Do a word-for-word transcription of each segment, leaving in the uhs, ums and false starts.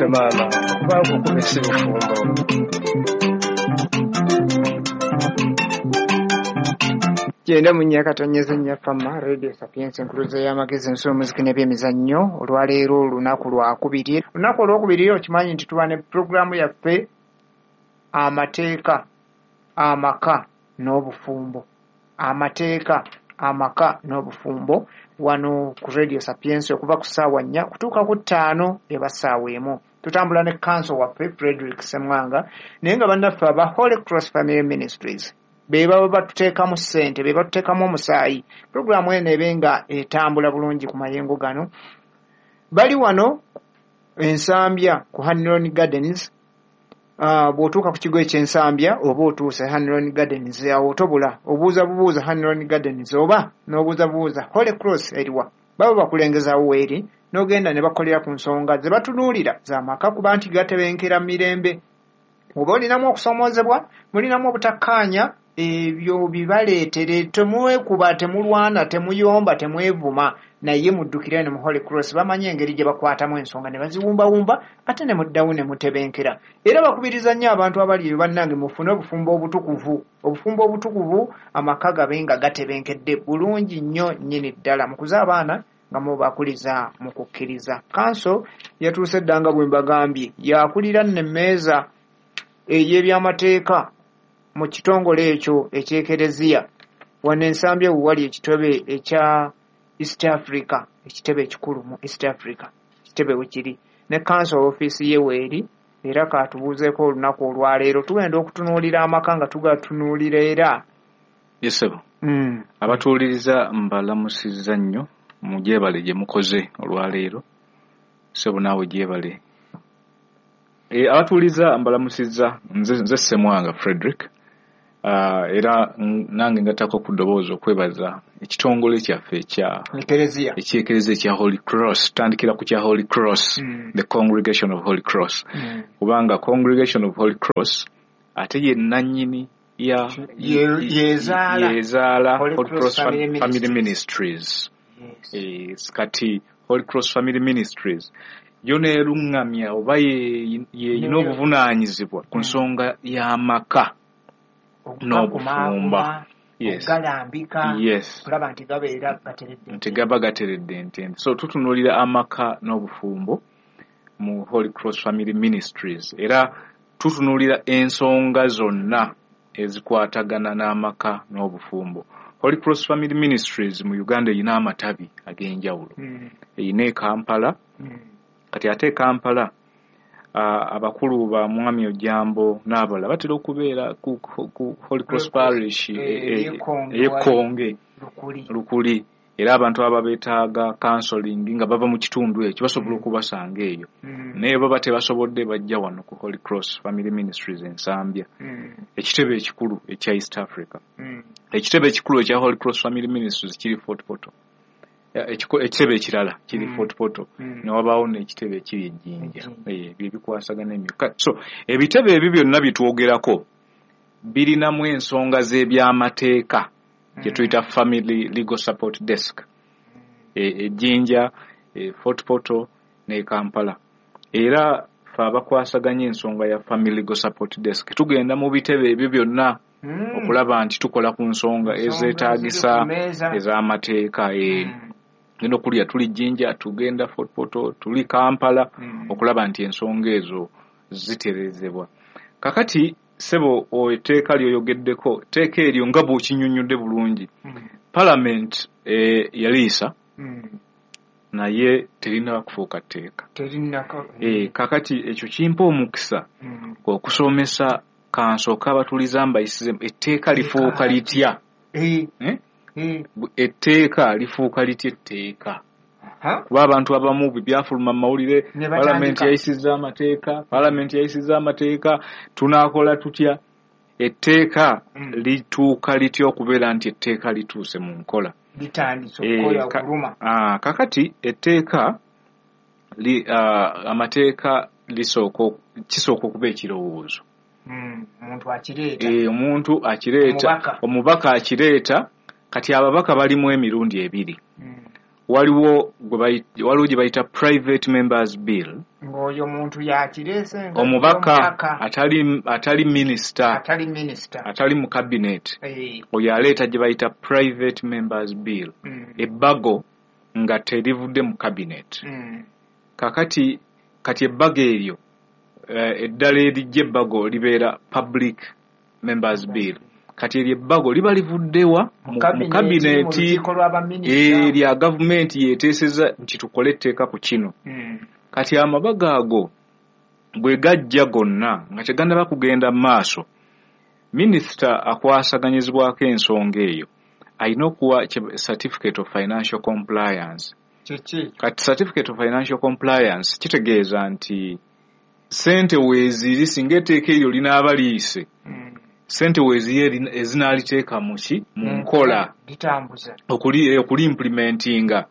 Naffe maama, kubanga okuba si bufumbo. Genda mu nnya katonyeza nnya Fama Radio Sapientia, enkuluze y'amagezi, ensi, omuziki n'ebyemizannyo. Olwaleero olunaku lwakubiri, olunaku olwokubiri okimanyi nti tuba ne puroguramu yaffe Amateeka, Amaka n'Obufumbo, Amateeka, Amaka n'Obufumbo, wano ku Radio Sapientia okuva ku ssaawa nnya kutuuka ku ttaano, eba ssaawa emu. Tutambula ne kanso waffe Frederick Semwanga, naye nga bannaffe aba Holy Cross Family Ministries be baba batuteekamu ssente, be batuteekamu omusaayi puroguramu eno ebe nga etambula bulungi ku mayengo gano. Bali wano Ensambya ku Hanlon Gardens. uh, bw'otuuka ku kigo eky'Ensambya oba otuuse Hanlon Gardens, awo otobula, obuuza bubuuza Hanlon Gardens oba n'obuuza bubuuza Holy Cross eriwa, baba bakulengezaawo weeri, n'ogenda ne bakolera ku nsonga ze batunuulira z'amaka, kuba nti gatebenkera mirembe. Oba olinamu okusoomoozebwa, mulinamu obutakkaanya, ebyo bibaleetere, temwekuba, temulwana, temuyomba, temwevuma, naye muddukire ne mu Holy Cross. Bamanyi engeri gye bakwatamu ensonga ne baziwumbawumba, ate ne muddawo ne mutebenkera. Era bakubiriza nnyo abantu abali eyo, bannange, mufune obufumbo obutukuvu, obufumbo obutukuvu, amaka gabe nga gatebenkedde bulungi nnyo nnyini ddala, mukuze abaana nga mubakuliza mu kukkiriza. Kanso yatuuse dda, nga bwe mbagambye, yakulira nno emmeeza ey'ebyamateeka mu kitongole ekyo ekyekereziya wano Ensambya, we wali ekitebe ekya East Africa, ekitebe ekikulu mu East Africa, ekitebe wekiri ne kanso ofiisi ye weeri. Era katubuuzeeko olunaku olwaleero tugenda okutunuulira amaka nga tugatunuulira era Yes ssebo. mm. Abatuwuliriza mbalamusizza nnyo, mugyebale gye mukoze olwaleero. Ssebo, naawe gyebale. E, abatuwuliriza mbalamusizza, nze, nze Ssemwanga Frederick. Uh, era nange ngattako ku ddoboozi okwebaza ekitongole kyaffe ekya Ekereziya. Ekyekereziya ekya Holy Cross. Tutandikira ku kya Holy Cross, Mm. the Congregation of Holy Cross, Mm. kubanga Congregation of Holy Cross ate ye nannyini ya Ye- yezaala yezaala Holy Holy Cross Cross Family Fam- Family Ministries. Ministries. Yes. Eh, kati Holy Cross Family Ministries yo neeruŋŋamya oba ye- yeyina Ne- obuvunaanyizibwa ku Mm. nsonga y'amaka n'obufumba. Okugakumaakuma, Yes. okugalambika, Yes. kulaba nti gabeera gateredde. Nti gaba gateredde ntende. So tutunuulira amaka n'obufumbo mu Holy Cross Family Ministries, era tutunuulira ensonga zonna ezikwatagana n'amaka n'obufumbo. Holy Cross Family Ministries mu Uganda erina amatabi ag'enjawulo. Mm. Erina e Kampala. Mm. Kati ate e Kampala, uh, abakulu ba Mwami Ojambo n'abalala batera okubeera ku, ku, ku Holy Cross Parish Eh, eh, eh, ey'Ekkonge. ey'Ekkonge. Lukuli. Lukuli. Era abantu aba beetaaga counseling nga bava mu kitundu ekyo basobola okubasanga eyo, Mm. naye baba tebasobodde bajja wano ku Holy Cross Family Ministries Ensambya, Mm. ekitebe ekikulu ekya East Africa. Mm. Ekitebe ekikulu ekya Holy Cross Family Ministries kiri Fort Portal. Ya, ekiko- ekitebe ekirala kiri Mm. Fort Portal, Mm. ne wabaawo n'ekitebe ekiri Ejjinja. Ejjinja. Eh, bye bikwasagana emyuka. So ebitebe ebyo byonna byetwogerako birinamu ensonga z'ebyamateeka gye tuyita Family Legal Support Desk, e, Ejjinja, e, Fort Portal ne Kampala. Era fe abakwasaganya ensonga ya Family Legal Support Desk tugenda mu bitebe ebyo byonna Mm. okulaba nti tukola ku nsonga Ensonga ezeetaagisa eziri ku mmeeza. ez'amateeka. eh. Mm. Genda okulya tuli Jjinja, tugenda Fort Portal, tuli Kampala, Mm. okulaba nti ensonga ezo ziterezebwa. Kakati ssebo, etteeka lyoyogeddeko, etteeka eryo nga bw'okinnyonnyodde bulungi, Mm. Parliament eh, yaliisa, Mm. naye terinaba kufuuka tteeka. Terinako. Eh, kakati ekyo kimpa omukisa Mm. okusomesa. Kansooka abatuliza mbayisize etteeka lifuuka litya. Eh, Eh? eh. Etteeka lifuuka litya etteeka? Ha? Kuba abantu abamu bwe byafuluma mu mawulire, Ne batandika. Palamenti yayisizza amateeka, palamenti yayisizza amateeka, tunaakola tutya? Etteeka Mm. lituuka litya okubeera nti etteeka lituuse mu nkola? Litandise Eh, okukola ka- okuluma. ah, kakati etteeka li, ah, amateeka lisooka kisooka okuba ekirowoozo. Mm. Omuntu akireeta. Eh, omuntu akireeta. Omubaka. Omubaka akireeta. Kati ababaka balimu emirundi ebiri. Mm. Waliwo gwe bayi- waliwo gye bayita private members bill. Mm. Ng'oyo muntu yakireese nga Omubaka atali atali minisita, atali minisita, atali mu cabinet, Eh. oyo aleeta gye bayita private members bill, Mm. ebbago nga terivudde mu cabinet. Mm. Kakati kati ebbago eryo, eh, eddala erijja ebbago libeera public members bill. Kati eryo ebbago liba livuddewa Mu mu mu cabinet, mu cabinet, lukiiko lw'abaminisita. eh, lya gavumenti yeeteeseza nti tukole etteeka ku kino. Mm. Kati amabago ago bwe gajja gonna nga tegannaba kugenda mu maaso, minisita akwasaganyizibwako ensonga eyo alina okuwa kye- certificate of financial compliance. Kiki? Kati certificate of financial compliance kitegeeza nti ssente weeziri singa etteeka eryo linaaba liyise, Mm. ssente weeziri ezinaaliteeka mu ki? Mu nkola. Litambuza. Okuli okuli implementinga.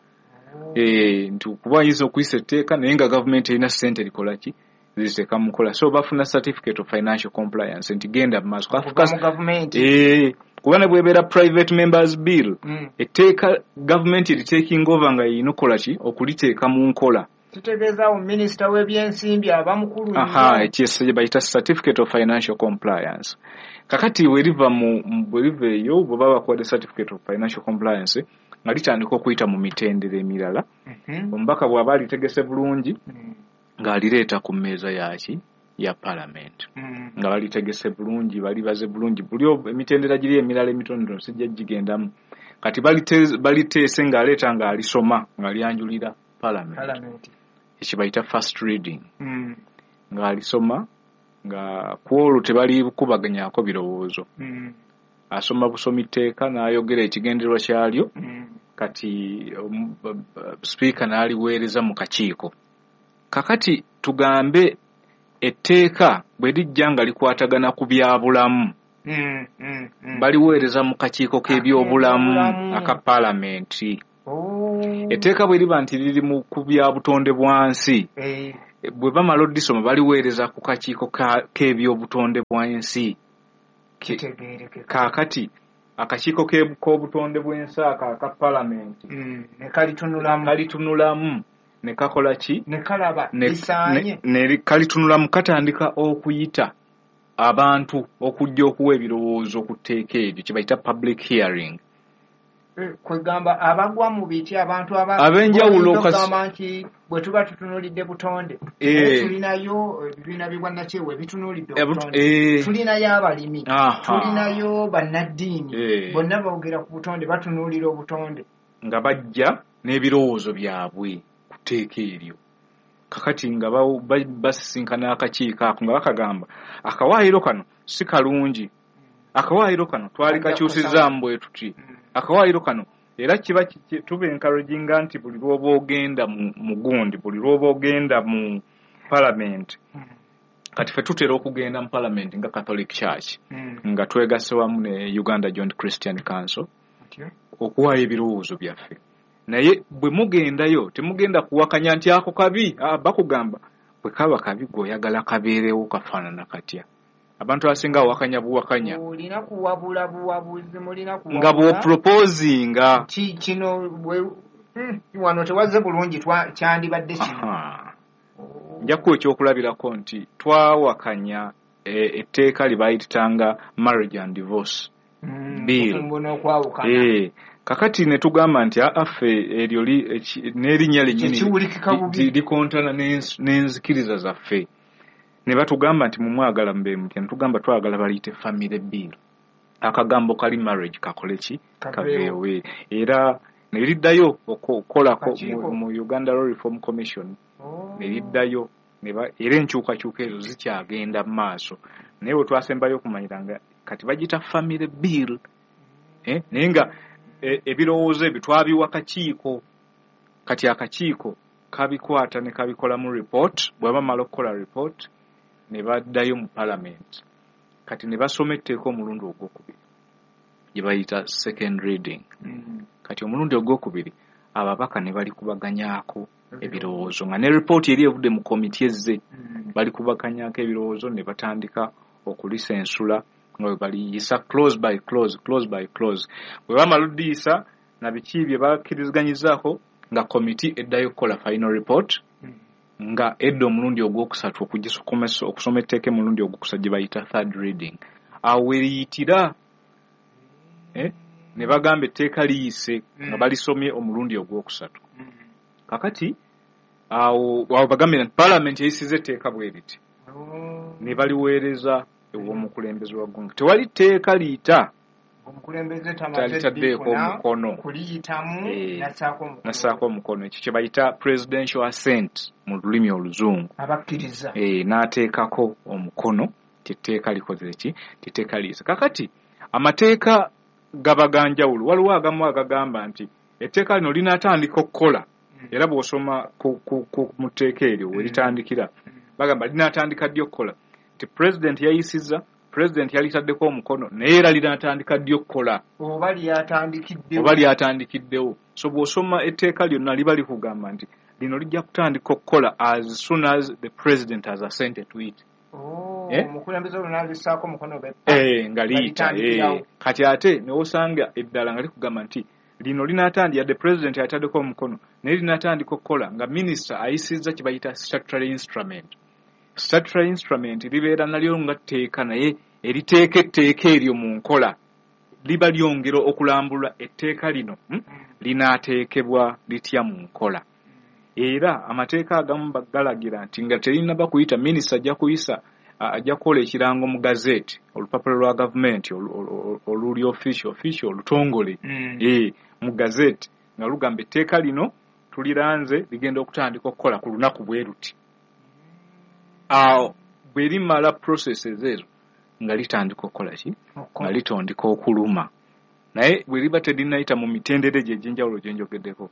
Eh, nti kuba ayinza okuyisa etteeka naye nga gavumenti erina ssente likola ki? Ziteeka mu nkola. So bafuna certificate of financial compliance nti genda mu maaso. Okuva mu gavumenti. Eh, kuba ne bw'ebeera private members bill, Mm. etteeka gavumenti eritaking over nga erina okukola ki? Okuliteeka mu nkola. Kitegeeza awo minisita w'ebyensimbi aba mukulu nnyo. Aha, ekyo kye bayita certificate of financial compliance. Kakati bwe liva mu mu- bwe liva eyo, bwe baba bakuwadde certificate of financial compliance, nga litandika okuyita mu mitendera emirala. Mhm. Omubaka bw'aba alitegese bulungi, Mm. ng'alireeta ku mmeeza yaki? Ya parliament. Mm. Nga balitegese bulungi, balibaze bulungi, buli ob- emitendera giri emirala emitonotono sijja gigendamu. Kati balite- baliteese ng'aleeta ng'alisoma ng'alyanjulira parliament. Parliament. Ekyo bayita first reading. Mm. Ng'alisoma nga ku olwo tebalikubaganyako birowoozo. Mm. Asoma busomi tteeka n'ayogera ekigendererwa kyalyo. Mm. Kati um, b- b- sipiika n'aliweereza mu kakiiko. Kakati tugambe etteeka bwe lijja nga likwatagana ku byabulamu, Mm. Mm. Mm. baliweereza mu kakiiko k'ebyobulamu Ak'ebyobulamu. aka paalamenti. Oh. Etteeka bwe liba nti liri mu ku bya butonde bwa nsi, Eh. bwe bamala oddisoma baliweereza ku kakiiko ka- k'ebyobutonde bw'ensi. Ke- Kitegeerekeka. Kaakati akakiiko ke- k'obutonde bw'ensi ako aka paalamenti Mm. Ne kalitunulamu. kalitunulamu ne kakola ki? Ne kalaba Ne- lisaanye. ne- ne kalitunulamu katandika okuyita abantu okujja okuwa ebirowoozo ku tteeka eryo kye bayita public hearing. Eh, kwegamba abagwa mu biti abantu aba- Ab'enjawulo oyinza kasi- okugamba nti bwe tuba tutunuulidde butonde, Eh. naye tulinayo ebibiina by'obwannakyewa ebitunuulidde Ebu- obutonde, eh. tulinayo abalimi, Aha. tulinayo bannaddiini, Eh. bonna boogera ku butonde, batunuulira obutonde. Nga bajja n'ebirowoozo byabwe ku tteeka eryo. Kakati nga ba- ba- basisinkana akakiiko ako nga bakagamba akawaayiro kano si kalungi, akawaayiro kano twali kakyusizaamu bwe tuti, Mm. akawaayiro kano. Era kiba ki- tuba encouraginga nti buli lw'oba ogenda mu mu gundi, buli lw'oba ogenda mu parliament. Mm. Kati ffe tutera okugenda mu parliament nga Catholic Church, Mm. nga twegasse wamu ne Uganda Joint Christian Council Otyo. okuwaayo ebirowoozo byaffe. Naye bwe mugendayo temugenda kuwakanya nti ako kabi. Ah, bakugamba bwe kaba kabi gweoyagala kabeerewo kafaanana katya? Abantu abasinga awakanya buwakanya. Olina kuwabula buwabuzi, mulina Nga kuwabula. bw'oproposinga. Ki kino bwe- mm, wano tewazze bulungi, twa- kyandibadde kino. Aha. Nja kuwa ekyokulabirako nti twawakanya eh, etteeka lye baayitanga marriage and divorce Mm, bill. Obufumbo n'okwawukana. Eh, kakati ne tugamba nti aa ffe eryo li- eki- n'erinnya lyennyini Tekiwulikika li- bubi. li- likontana n'ens- n'enzikiriza zaffe. Ne batugamba nti mumwagala mube mutya? Ne tugamba twagala baliyite family bill, akagambo kali marriage kakole ki? Kaveewo. Kaveewe. Era ne liddayo okukolako Kakiiko. mu, mu Uganda Law Reform Commission. Oh. Ne liddayo ne ba- era enkyukakyuka ezo zikyagenda mu maaso, naye we twasembayo okumanyira nga kati bagiyita family bill, eh, naye nga eh, ebirowoozo ebyo twabiwa kakiiko. Kati akakiiko kabikwata ne kabikolamu report. Bwe bamala okukola report ne baddayo mu parliament. Kati ne basoma etteeka omulundi ogwokubiri gye bayita second reading. Mm. Kati omulundi ogwokubiri ababaka ne balikubaganyaako ebirowoozo nga ne ripooti eri evudde mu komiti ezze. Mm. Balikubaganyaako ebirowoozo ne batandika okulisensula nga bwe baliyisa clause by clause, clause by clause. Bwe bamala oddiyisa na biki bye bakkiriziganyizaako, nga komiti eddayo okukola final report. Mm. Nga edda omulundi ogwokusatu okugisomesa okusoma etteeka omulundi ogwokusatu gye bayita third reading. Awo we liyitira eh, ne bagamba etteeka liyise nga balisomye omulundi ogwokusatu. Kakati awo awo bagambye nti paalamenti eyisiza etteeka bwe riti, ne baliweereza ew'omukulembeze wa ggwanga. Tewali tteeka liyita omukulembeze talitaddeeko omukono kuliyitamu Eh, nassaako omukono nassaako omukono. Ekyo kye bayita presidential assent mu lulimi oluzungu. Abakkiriza. Eh, n'ateekako omukono tetteeka likoze ki, tetteeka liyise. Kakati amateeka gaba ga njawulo. Waliwo agamu agagamba nti etteeka lino linaatandika okukola, era bw'osoma ku, ku, ku mu tteeka eryo we litandikira, bagamba linaatandika ddi okukola, nti president yayisizza, president yalitaddeko omukono, naye era linaatandika ddi okukola oba lyatandikiddewo. Oba lyatandikiddewo. So bw'osoma etteeka lyonna liba likugamba nti lino lijja kutandika okukola as soon as the president has assented to it. Oh, Eh? omukulembeze olwo n'alissaako omukono be Eh, nga liyita. Litandikirawo. Eh. Kati ate newosanga eddala nga likugamba nti lino linaatandika yadde president yataddeko omukono, naye linaatandika okukola nga minisita ayisizza kye bayita statutory instrument. Statutory instrument libeera nalyo nga tteeka, naye eriteeka etteeka eryo mu nkola liba lyongera okulambula etteeka lino, hmm? linaateekebwa litya mu nkola. Era amateeka agamu galagira nti nga terinnaba kuyita, minisita ajja kuyisa, ajja kukola ekirango mu gazette, olupapula lwa gavumenti oluli official, official olutongole, Mm. eh, mu gazette nga lugamba etteeka lino tuliranze ligenda okutandika okukola ku lunaku bwe luti. Awo bwe limala processes ezo nga litandika okukola ki, nga litandika okuluma. Naye bwe liba terinnayita mu mitendera egyo egy'enjawulo gye njogeddeko,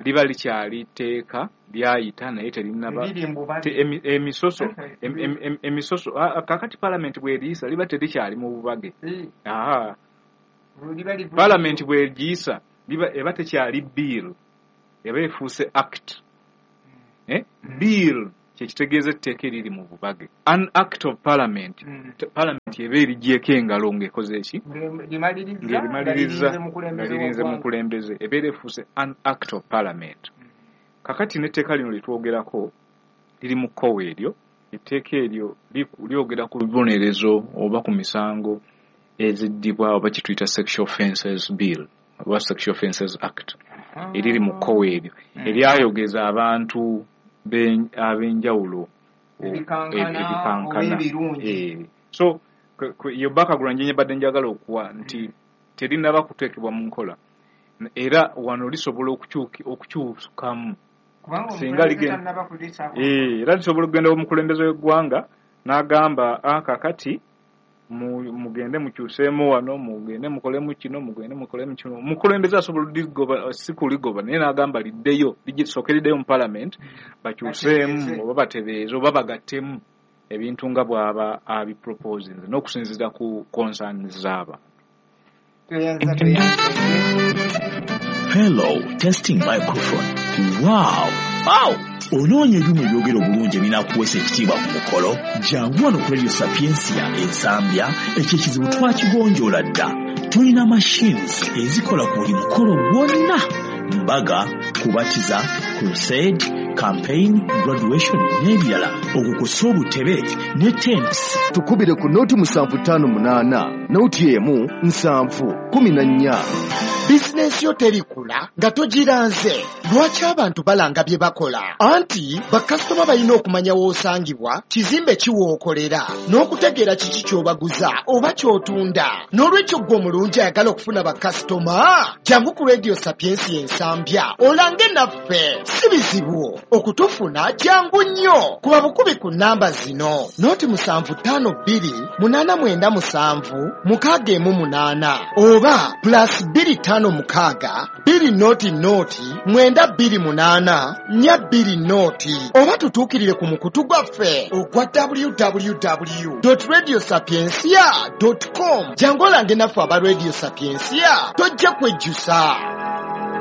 liba likyali tteeka lyayita naye terinnaba Liri mbubazi. te- emi- emisoso em- em- em- emisoso ah, ah, kakati paalamenti bw'eriyisa liba terikyali mu bubage. Eh, Aha. liba livu- Paalamenti bw'egiyisa liba eba tekyali bill, eba efuuse act. Eh? Bill kyekitegeeza etteeka eriri mu bubage. An act of parliament, Mm. Te- parliament eba erigyeko engalo ng'ekoze eki, Ng'erimaliriza, ng'erimaliriza nga lirinze nga mukulembeze lirinze w'eggwanga. mukulembeze, ebeera efuuse an act of parliament. Kakati n'etteeka lino lyetwogerako liri mu kkowe eryo. Etteeka eryo liku- lyogera ku bibonerezo oba ku misango eziddibwa oba kye tuyita Sexual Offences Bill oba Sexual Offences Act, eriri mu kkowe eryo eryayogeza abantu ben- ab'enjawulo o- Ebikankana, ebikankana. oba ebirungi. Eh, so kwe- kwe- yo background gye mbadde njagala okuwa nti terinnaba kuteekebwa mu nkola, era wano lisobola okukyuki- okukyukamu Kubanga singa omukulembeze ligenda- tannaba kulisaako. Eh, era lisobola okugenda omukulembeze w'eggwanga n'agamba, ah, kakati mu- mugende mukyuseemu wano, mugende mukolemu kino, mugende mukolemu kino. Omukulembeze asobola oligoba, si kuligoba, naye n'agamba liddeyo, lisooke liddeyo mu parliament bakyuseemu Batereeze. oba batereeze oba bagattemu ebintu nga bw'aba abiproposinze n'okusinziira ku concerns z'abantu. Tweyanza, tweyanza. Hello, testing microphone. Wow! Wow! Onoonya ebyuma ebyogera obulungi ebinaakuweesa ekitiibwa ku mukolo? Jangu wano ku Radio Sapientia Ensambya, ekyo ekizibu twakigonjoola dda. Tulina machines ezikola ku buli mukolo gwonna: mbaga, kubatiza, crusade, campaign, graduation n'ebirala, okwo kw'ossa obutebe ne tents. Tukubire ku nooti musanvu ttaano munaana nooti emu nsanvu kumi na nnya. Bizinensi yo terikula nga togiranze. Lwaki abantu balanga bye bakola? Anti bakasitoma balina okumanya w'osangibwa, kizimbe ki w'okolera, n'okutegeera kiki ky'obaguza oba ky'otunda. N'olwekyo ggwe omulungi ayagala okufuna bakasitoma, jangu ku Radio Sapiensi Ensambya olange naffe. Si bizibu okutufuna, jangu nnyo. Kuba bukubi ku nnamba zino: nooti musanvu ttaano bbiri munaana mwenda musanvu mukaaga emu munaana oba plus bbiri ttaano mukaaga bbiri nooti nooti mwenda bbiri munaana nnya bbiri nooti, oba tutuukirire ku mukutu gwaffe ogwa W W W radio sapiencia com. Jangu olange naffe aba Radio Sapiencia, tojja kwejjusa.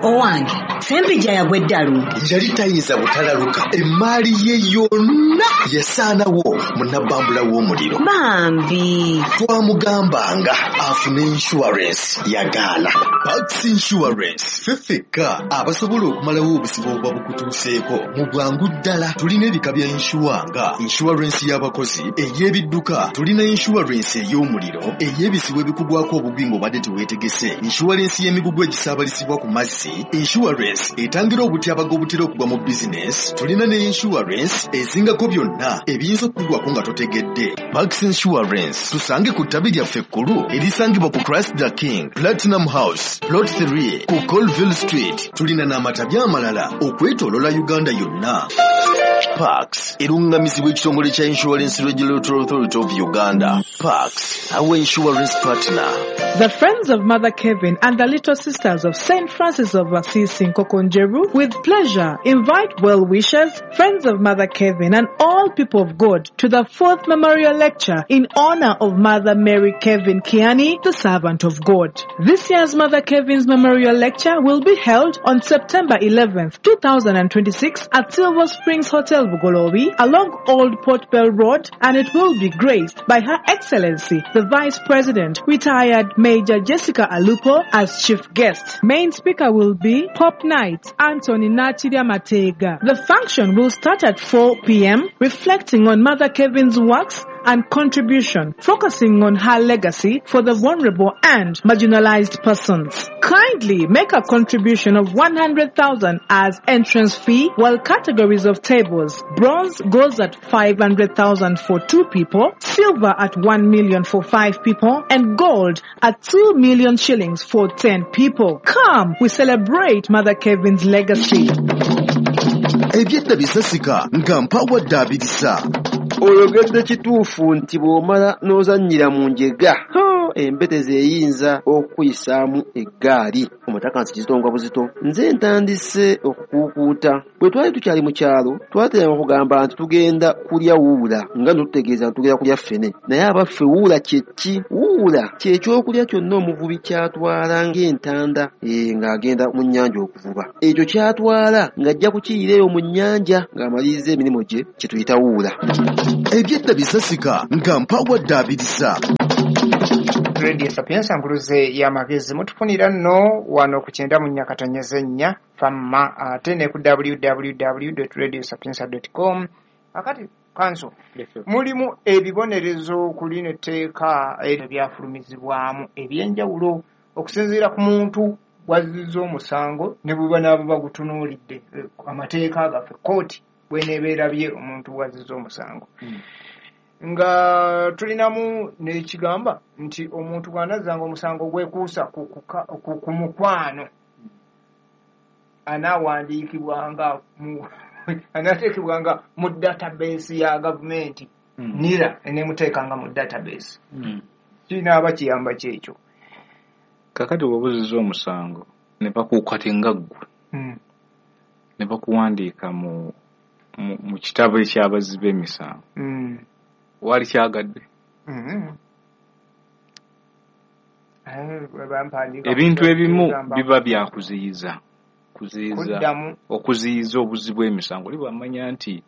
Owange, Ssempijja yagwa eddalu. Yali tayinza butalaluka, emmaali ye yonna yasaanawo mu nabbambula w'omuliro. Bambi. Twamugambanga afune insurance, yagaana. Pax Insurance, ffe ffekka abasobola okumalawo obuzibu obuba bukutuuseeko mu bwangu ddala. Tulina ebika bya insure nga insurance y'abakozi, ey'ebidduka, tulina insurance ey'omuliro, ey'ebizibu ebikugwako obugwi ng'obadde teweetegese, insurance y'emigugu egisaabalizibwa ku mazzi, insurance etangira obutyabaga obutera okugwa mu bizinesi, tulina ne insurance ezingako byonna ebiyinza okukugwako nga totegedde. Pax Insurance tusange ku ttabi lyaffe ekkulu erisangibwa ku Christ the King Platinum House Plot three ku Colville Street. Tulina n'amatabi amalala okwetooloola Uganda yonna. Pax erungamizibwa ekitongole kya Insurance Regulatory Authority of Uganda. Pax, our insurance partner. The Friends of Mother Kevin and the Little Sisters of Saint Francis of Assisi in Kokonjeru with pleasure invite well-wishers, Friends of Mother Kevin and all people of God to the fourth memorial lecture in honor of Mother Mary Kevin Kiani, the servant of God. This year's Mother Kevin's memorial lecture will be held on September eleventh, two thousand twenty-six at Silver Springs Hotel Bugolobi along Old Port Bell Road, and it will be graced by Her Excellency, the Vice President, retired Major Jessica Alupo, as chief guest. Main speaker will be Pop Knight Anthony Nachidia Matega. The function will start at four p.m., reflecting on Mother Kevin's works and contribution, focusing on her legacy for the vulnerable and marginalized persons. Kindly make a contribution of one hundred thousand as entrance fee, while categories of tables: bronze goes at five hundred thousand for two people, silver at one million for five people, and gold at two million shillings for ten people. Come, we celebrate Mother Kevin's legacy. Ebyedda bisasika nga mpawa ddaabiriza. Oyogedde kituufu nti bw'omala n'ozannyira mu njega, embetezi eyinza okukuyisaamu eggaali. Omutaka nsi kizito nga buzito. Nze ntandise okukuukuuta. Bwe twali tukyali mu kyalo, twateranga okugamba nti tugenda kulya wuula, nga ntutegeeza nti tugenda kulya ffene. Naye abaffe wuula kye ki? Wuula kye kyokulya kyonna omuvubi ky'atwala ng'entanda, ee, ng'agenda mu nnyanja okuvuba. Ekyo ky'atwala ng'ajja kukiyira eyo mu nnyanja ng'amaliriza emirimu gye, kye tuyita wuula. Ebyedda bisasika nga mpawa ddaabiriza. Radio Sapientia nkuluze y'amagezi. Mutufunira nno wano ku kyenda mu nnya katonyeze nnya famma, ate ne ku w w w dot radio sapientia dot com. Akati kanso mulimu ebibonerezo ku lino etteeka ebyafulumizibwamu ebyenjawulo okusinziira ku muntu wazizza omusango ne bwe banaaba bagutunuulidde amateeka gaffe kkooti bw'eneebeerabye omuntu wazizza omusango. Mm. Nga tulinamu n'ekigamba nti omuntu bw'anazzanga omusango gwekuusa ku, ku, ku, ku mukwano anaawandiikibwanga mu anateekebwanga mu database ya gavumenti. Mm. NIRA eneemuteekanga mu database. Mm. Kinaaba kiyamba kyekyo. Kakati bw'obuzizza omusango ne bakukwata nga ggwe, mm. ne bakuwandiika mu, mu, mu kitabo eky'abazzi b'emisango. Mm. Wali kyagadde. Mm-hmm. Ebintu ebimu biba byakuziyiza kuziyiza okuziyiza obuzi bw'emisango. Oli bw'amanya nti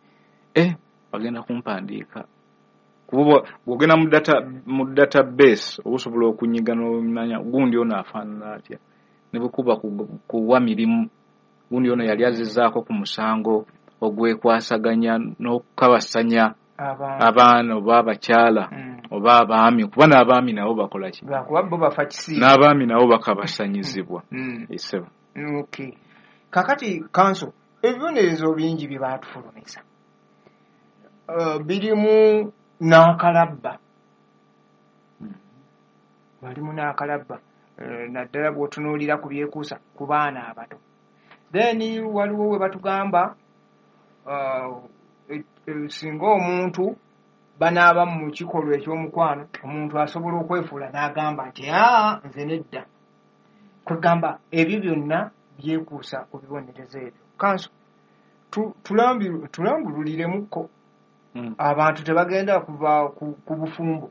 eh bagenda kumpandiika, kuba bw'ogenda mu data mu database osobola okunyiga n'omanya gundi ono afaanana atya, ne bwekuba kuwa mirimu gundi ono yali azizzaako ku musango ogwekwasaganya n'okukabasanya abaana oba abakyala, mm. oba abaami, kuba n'abaami nabo bakola ki? N'abaami nabo bakabasanyizibwa. Mm. Esebo. Okay. Kakati kanso ebibonerezo bingi bye baatufulumiza, uh, birimu n'akalabba. Mm. Balimu n'akalabba, uh, naddala bw'otunuulira ku byekuusa ku baana abato. Then waliwo we batugamba uh, singa omuntu banaaba mu kikolwa eky'omukwano, omuntu asobola okwefuula n'agamba nti aa nze nedda. Kwegamba ebyo byonna byekuusa ku bibonerezo ebyo. Kanso tulambululiremuko. Mm. Abantu tebagenda kuva ku, ku bufumbo.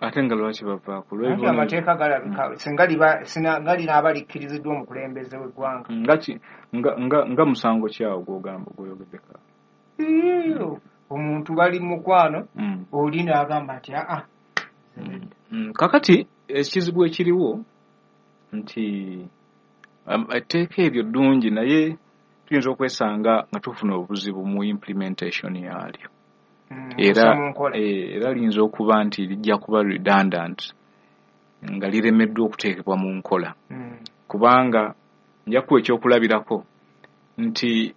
Ate nga lwaki bavaako? Anti amateeka galabika singa liba singa linaaba likkiriziddwa omukulembeze w'eggwanga. Nga ki nga nga nga musango ki awo gw'ogamba gw'oyogeddeko? Omuntu bali mu mukwano Mm. oli n'agamba nti aa Mm. Kakati ekizibu ekiriwo nti um, etteeka eryo ddungi, naye tuyinza okwesanga nga tufuna obuzibu mu implementation yaalyo. Mm, Era okussa mu nkola. eh, era liyinza okuba nti lijja kuba redundant nga liremeddwa okuteekebwa mu nkola. Mm. Kubanga nja kuwa ekyokulabirako nti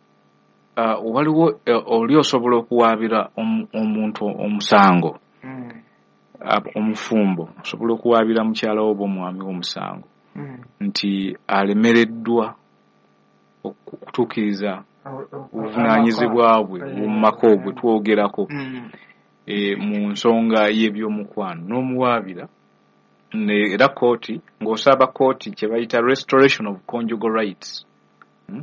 uh, waliwo uh, oli osobola okuwaabira omu- omuntu omusango, Mm. uh, omufumbo osobola okuwaabira mukyala wo oba omwami w'omusango Mm. nti alemereddwa okutuukiriza O- o- obuvunaanyizibwa bwe Eh, mu maka obwe twogerako Mm. e, mu nsonga y'ebyomukwano n'omuwaabira ne- era kooti ng'osaba kooti kye bayita restoration of conjugal rights, Hmm?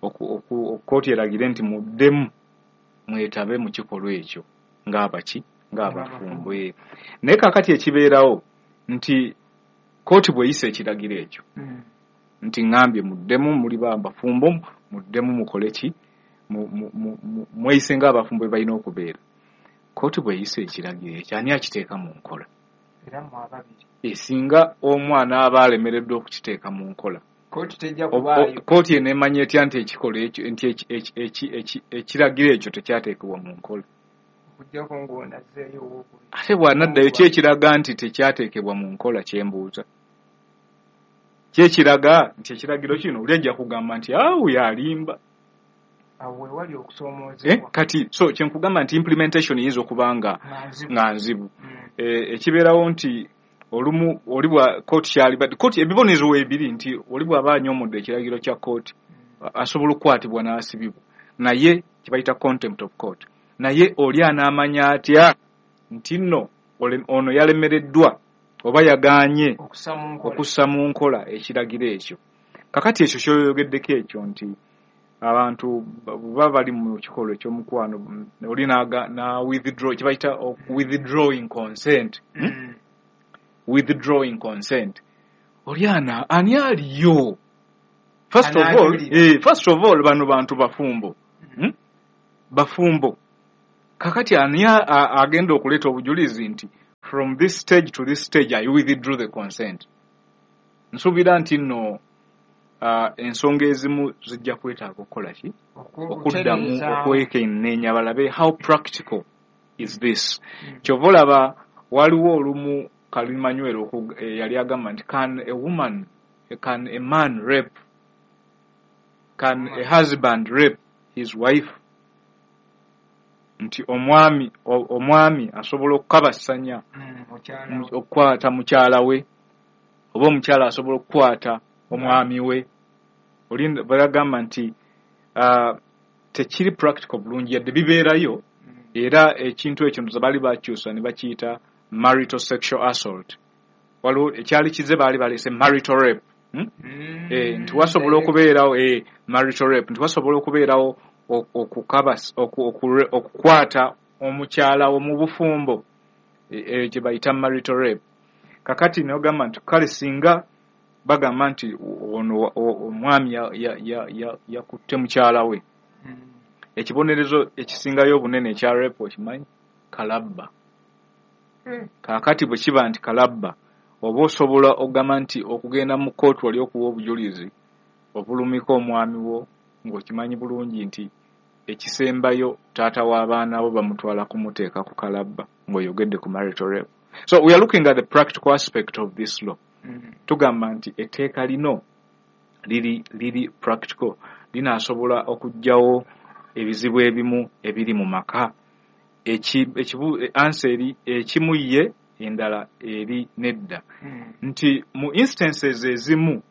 Oku- oku- kooti eragire nti muddemu mwetabe mu kikolwa ekyo ng'abaki ng'abafumbo. Eh. Naye kaakati ekibeerawo nti kooti bw'eyisa ekiragiro ekyo Mm. nti ŋŋambye muddemu muli ba bafumbo, muddemu mukole ki, mu- mu- mu- mu- mweyise ng'abafumbo bwe balina okubeera. Kooti bw'eyisa ekiragiro ekyo, ani akiteeka mu nkola? Era mu ababiri. Esinga omwana aba alemereddwa okukiteeka mu nkola, Kooti tejja O- o- kubaayo. Kooti eneemanya etya nti ekikolwa ekyo nti eki- eki- eki- eki- ekiragiro ekyo tekyateekebwa mu nkola? Okuggyako ng'onazzeeyo owookubiri. Ate bw'anaddayo, ki ekiraga nti tekyateekebwa mu nkola? Kyembuuza, ki ekiraga nti ekiragiro kino oli ajja kugamba nti awo yalimba? Awo we wali Eh, okusoomoozebwa. Kati so kyenkugamba nti implementation eyinza okuba nga Nga nzibu. nga nzibu. Mm. Eh, ekibeerawo nti olumu oli bwa kooti kyalibadde kooti ebibonerezo weebiri nti oli bw'aba anyoomodde ekiragiro kya kooti asobola okukwatibwa n'asibibwa, naye kibayita contempt of court. Naye oli anaamanya atya nti nno ole- ono yalemereddwa oba yagaanye Okussa mu nkola. okussa mu nkola ekiragiro ekyo? Kakati ekyo kyoyogeddeko ekyo nti abantu baba bali mu kikolwa ekyomukwano, mm, oli n'aga- na withdraw, kibayita withdrawing consent, hmm? Mm. Withdrawing consent, oli ana ani aliyo? First of all, Anaajulira. eh, first of all, bano bantu bafumbo, hmm? Bafumbo. Kakati ani a- a- agenda okuleeta obujulizi nti from this stage to this stage I withdrew the consent? Nsuubira nti nno uh, ensonga ezimu zijja kwetaaga okukola ki, okuddamu Okutereezaamu. okwekenneenya balabe how practical is this. Mm. Kyova olaba waliwo olumu Kalimanywero oku- eh, yali agamba nti can a woman can a man rape, can a husband rape his wife, nti omwami o- omwami asobola okukabassanya Mm, mukyala we. okukwata mukyala we, oba omukyala asobola okukwata omwami we. Oli bagamba nti uh, tekiri practical bulungi yadde bibeerayo. Mm. Era ekintu ekyo ndoza baali bakyusa ne bakiyita marital sexual assault. Waliwo ekyali kize baali baleese marital rape, hmm? Mm. Eh, nti wasobola okubeerawo eh, marital rape, nti wasobola okubeerawo ok- okukabas oku- okure- okukwata omukyala wo mu bufumbo, eh, eh, kye bayita marital rape. Kakati nogamba nti kale singa bagamba nti ono o- omwami yakutte ya, ya, ya, yakutte mukyala we, Mm. ekibonerezo ekisingayo obunene ekya rape okimanyi? Kalabba. Mm. Kaakati bwe kiba nti kalabba, oba osobola okugamba nti okugenda mu kkooti wali okuwa obujulizi obulumika omwami wo ng'okimanyi bulungi nti ekisembayo taata w'abaana bo bamutwala kumuteeka ku kalabba ng'oyogedde ku marital rape. So we are looking at the practical aspect of this law. Mm. Tugamba nti etteeka lino liri liri practical, linaasobola okuggyawo ebizibu ebimu ebiri mu maka? Eki- ekibu answer eri ekimu ye, endala eri nedda, Mm. nti mu instances ezimu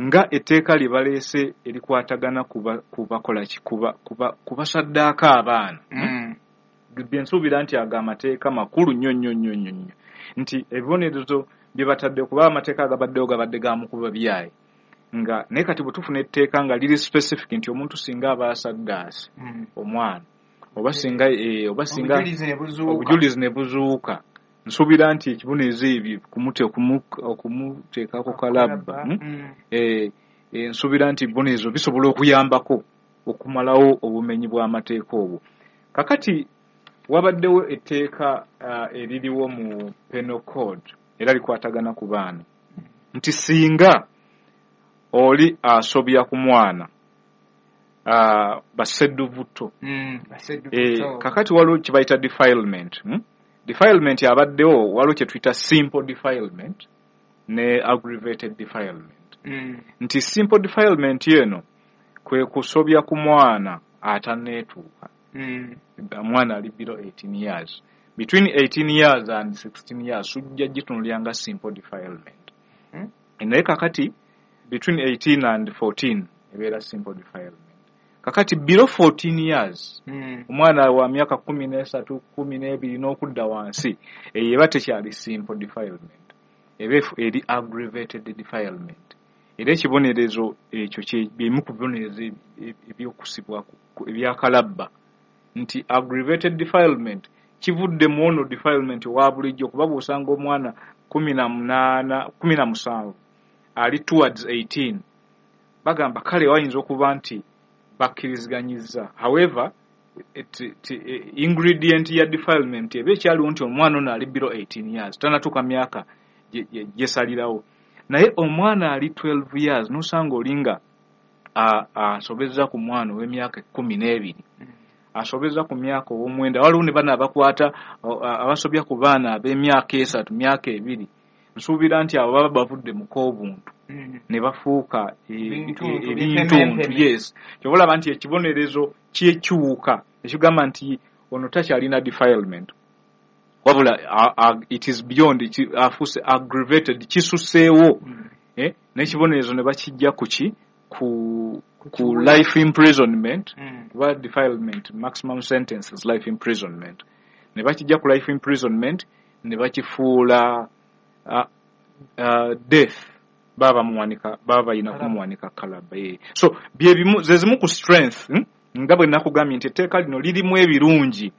nga etteeka lye baleese erikwatagana kuba kubakola ki, kuba kuba kubasaddaaka abaana, Mm. bye nsuubira nti ago amateeka makulu nnyo nnyo nnyo nnyo nnyo, nti ebibonerezo bye batadde, kuba amateeka agabaddewo gabadde ga mukuba byayi nga, naye kati bwe tufuna etteeka nga liri specific nti omuntu singa aba asaddaase Mm. omwana oba singa eh, oba singa Obujulizi ne buzuuka. Obujulizi ne buzuuka Nsuubira nti ekibonerezo ebyo okumuteekako kalabba, nsuubira nti ebibonerezo bisobola okuyambako okumalawo obumenyi bw'amateeka obwo. Kakati wabaddewo etteeka eririwo mu Penal Code era likwatagana ku baana nti singa oli asobya ku mwana basedduvuto, kakati waliwo kye bayita defilement. Defilement abaddewo waliwo kye tuyita simple defilement ne aggravated defilement. Nti simple defilement eno kwe kusobya ku mwana atanneetuuka, omwana ali below eighteen years, between eighteen years and sixteen years sujja gitunulira nga simple defilement. Naye kakati between eighteen and fourteen ebeera simple defilement. Kakati below fourteen years omwana wa myaka kumi n'esatu kumi n'ebiri n'okudda wansi eyo eba tekyali simple defilement, eba eri aggravated defilement. Era ekibonerezo ekyo byemu ku bibonerezo ebyokusibwa ebyakalabba nti aggravated defilement kivudde mu ono defilement owa bulijjo, kuba bw'osanga omwana kumi na munaana kumi na musanvu ali towards eighteen bagamba kale wayinza okuba nti bakkiriziganyizza. However, ingredient ya defilement eba ekyaliwo nti omwana ono ali below eighteen years tannatuuka myaka gyesalirawo. Naye omwana ali twelve years n'osanga olinga asobezza ku mwana ow'emyaka ekkumi n'ebiri, asobezza ku myaka ow'omwenda, waliwo ne bano abakwata abasobya ku baana ab'emyaka esatu myaka ebiri. Nsuubira nti abo baba bavudde mu k'obuntu ne bafuuka ebintuntu. Yes, ky'oba olaba nti ekibonerezo kyekyuka ekigamba nti ono takyalina defilement, wabula it is beyond, afuuse aggravated, kisuseewo. N'ekibonerezo ne bakijja ku ki ku ku life imprisonment, kuba defilement maximum sentence is life imprisonment, ne bakijja ku life imprisonment ne bakifuula death, baba bamuwanika baba balina kumuwanika kalabba. So byebimu ze zimu ku strength nga bwe nakugambye nti etteeka lino lirimu ebirungi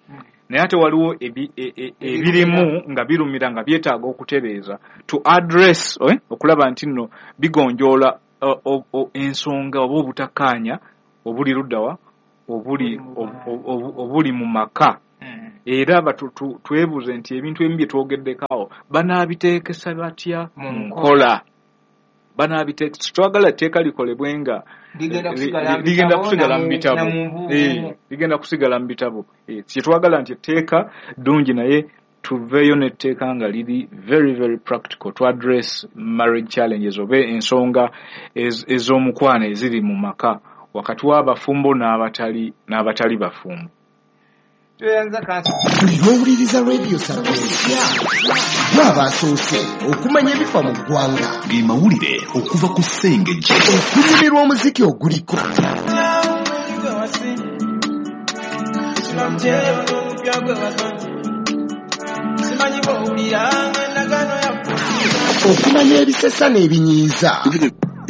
naye ate waliwo ebirimu nga birumira nga byetaaga okutereeza to address, okulaba nti nno bigonjoola ensonga oba obutakkaanya obuli luddawa obuli mu maka. Era twebuuze nti ebintu ebimu bye twogeddeko awo banaabiteekesa batya mu nkola, banaabiteekesa. Twagala etteeka likolebwe nga ligenda kusigala mu bitabo, ligenda kusigala mu bitabo. Kyetwagala nti etteeka ddungi naye tuveeyo n'etteeka nga liri very very practical to address marriage challenges oba ensonga ez'omukwano eziri mu maka wakati w'abafumbo n'abatali n'abatali bafumbo. N'owuliriza Radio Sapiensia gw'abasoose okumanya ebifa mu ggwanga, ge mawulire okuva ku Ssengejje, okunyumirwa omuziki oguliko, okumanya ebisesa n'ebinyiiza.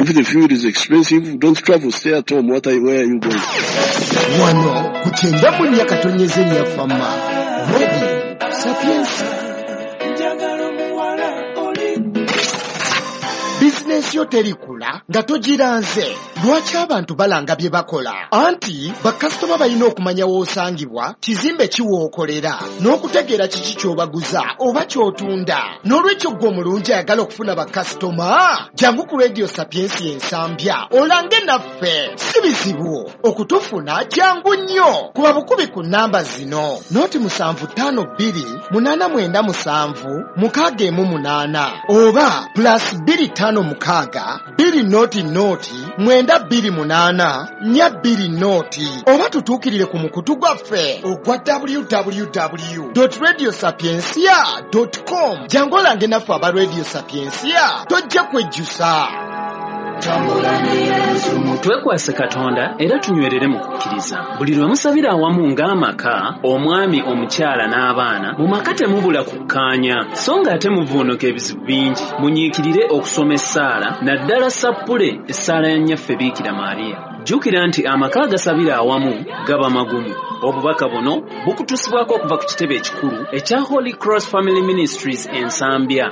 If the fuel is expensive, don't travel, stay at home. What are you, where are you going? Wano ku kyenda mu nnya katonyeze nnya Fama Radio Sapiensia. Bizinensi yo terikula nga togiranze. Lwaki abantu balanga bye bakola? Anti bakasitoma balina okumanya w'osangibwa, kizimbe ki w'okolera, n'okutegeera kiki ky'obaguza oba ky'otunda. N'olwekyo ggwe omulungi ayagala okufuna bakasitoma, jangu ku Radio Sapiensia Ensambya olange naffe. Si bizibu okutufuna, jangu nnyo. Kuba bukubi ku nnamba zino: noti musanvu ttaano bbiri munaana mwenda musanvu mukaaga emu munaana oba plus bbiri ttaano mukaaga bbiri noti noti mwenda bbiri munaana nnya bbiri noti oba tutuukirire ku mukutu gwaffe ogwa w w w dot radio sapiensia dot com. Jangu olange naffe aba Radio Sapiensia, tojja kwejjusa. Twekwase Katonda era tunywerere mu kukkiriza. Buli lwe musabira awamu ng'amaka, omwami, omukyala n'abaana, mu maka temubula kukkaanya, so ng'ate muvuunuka ebizibu bingi. Munyiikirire okusoma essaala, naddala sappule essaala ya Nnyaffe Biikira Maria. Jjukira nti amaka agasabira awamu gaba magumu. Obubaka buno bukutuusibwako okuva ku kitebe ekikulu ekya Holy Cross Family Ministries e Nsambya.